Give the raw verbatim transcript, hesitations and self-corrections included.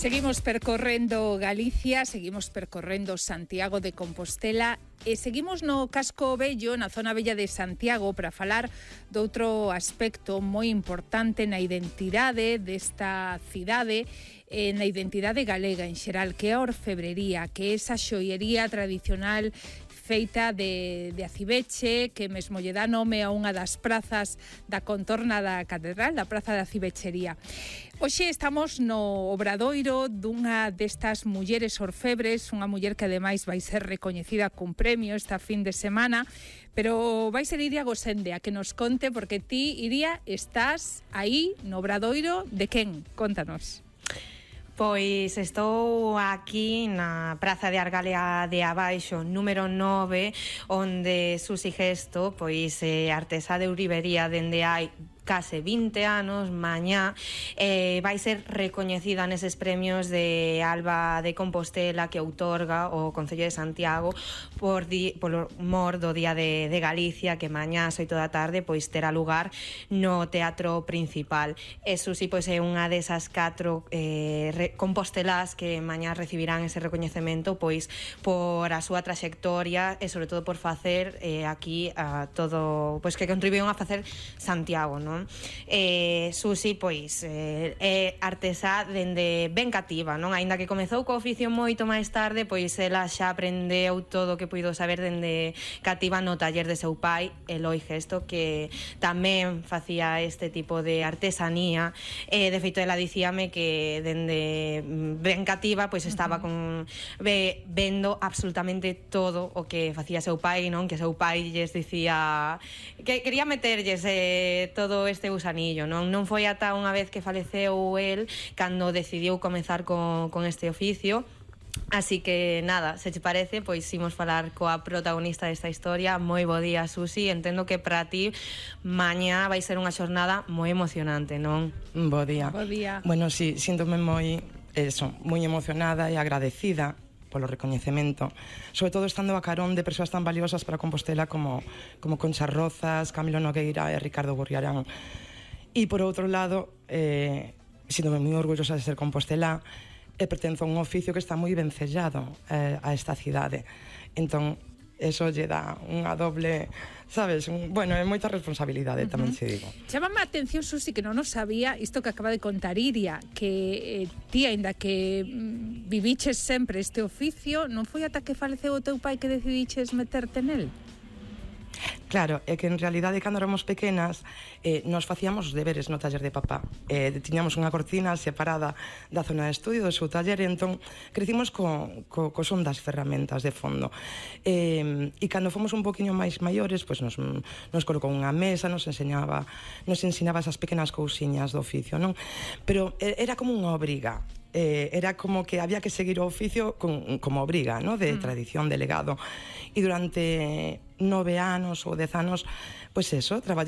Seguimos percorrendo Galicia, seguimos percorrendo Santiago de Compostela e seguimos no Casco Vello, na zona bella de Santiago, para falar doutro aspecto moi importante na identidade desta cidade, eh, na identidade galega en xeral, que é a orfebrería, que é esa xoiería tradicional feita de, de acibeche, que mesmo lle dá nome a unha das prazas da contorna da catedral, da praza da acibechería. Hoxe estamos no obradoiro dunha destas mulleres orfebres, unha muller que ademais vai ser recoñecida cun premio esta fin de semana, pero vai ser Iria Gosende a que nos conte, porque ti, Iria, estás aí no obradoiro de quen? Contanos. Pois estou aquí na Praza de Argalea de Abaixo, número nove, onde Susi Gesto, pois é artesá de ourivería dende hai case vinte anos, mañá eh, vai ser recoñecida neses premios de Alba de Compostela que outorga o Concello de Santiago por, di, por mor do Día de, de Galicia, que mañá ás oito da tarde pois terá lugar no Teatro Principal. E Susi pois é unha desas catro eh, re, compostelás que mañá recibirán ese recoñecemento pois por a súa traxectoria e sobre todo por facer eh, aquí a todo, pois que contribuíron a facer Santiago, non? Eh, Susi, pois, eh, é artesá dende ben cativa, non? Aínda que comezou co oficio moito máis tarde, pois ela xa aprendeu todo o que puido saber dende cativa no taller de seu pai, Eloi Gesto, que tamén facía este tipo de artesanía. Eh, de feito, ela dicíame que dende ben cativa, pois estaba con ve, vendo absolutamente todo o que facía seu pai, non? Que seu pai lles dicía que quería meterlles eh, todo este gusanillo, non? Non foi ata unha vez que faleceu el cando decidiu comezar con, con este oficio. Así que nada, se te parece, pois imos falar coa protagonista desta historia. Moi bo día, Susi. Entendo que para ti mañá vai ser unha xornada moi emocionante, non? Bo día. Bo día. Bueno, sí, síntome moi, eso, moi emocionada e agradecida polo recoñecemento, sobre todo estando a carón de persoas tan valiosas para Compostela como, como Concha Rozas, Camilo Nogueira e Ricardo Gurriarán. E por outro lado, eh, sinto moi orgullosa de ser compostelá, e pertenzo a un oficio que está moi ben sellado eh, a esta cidade. Entón, eso lle dá unha doble, sabes, un, bueno, é moita responsabilidade, uh-huh. tamén se digo. Chámame a atención, Susi, que non nos sabía isto que acaba de contar Iria, que eh, ti, aínda que mm, viviches sempre este oficio, non foi ata que faleceu o teu pai que decidiches meterte nel? Claro, é que en realidade cando éramos pequenas eh, nos facíamos os deberes no taller de papá. Eh, tiñamos unha cortina separada da zona de estudio do seu taller, e entón crecimos co, co, co son das ferramentas de fondo. Eh, e cando fomos un poquinho máis maiores, pois nos, nos colocou unha mesa, nos enseñaba, nos ensinaba esas pequenas cousiñas do oficio, non? Pero era como unha obriga. Eh, era como que había que seguir o oficio con, como obriga, ¿no? De mm. tradición, de legado. E durante nove anos ou dez anos, pois eso, traballei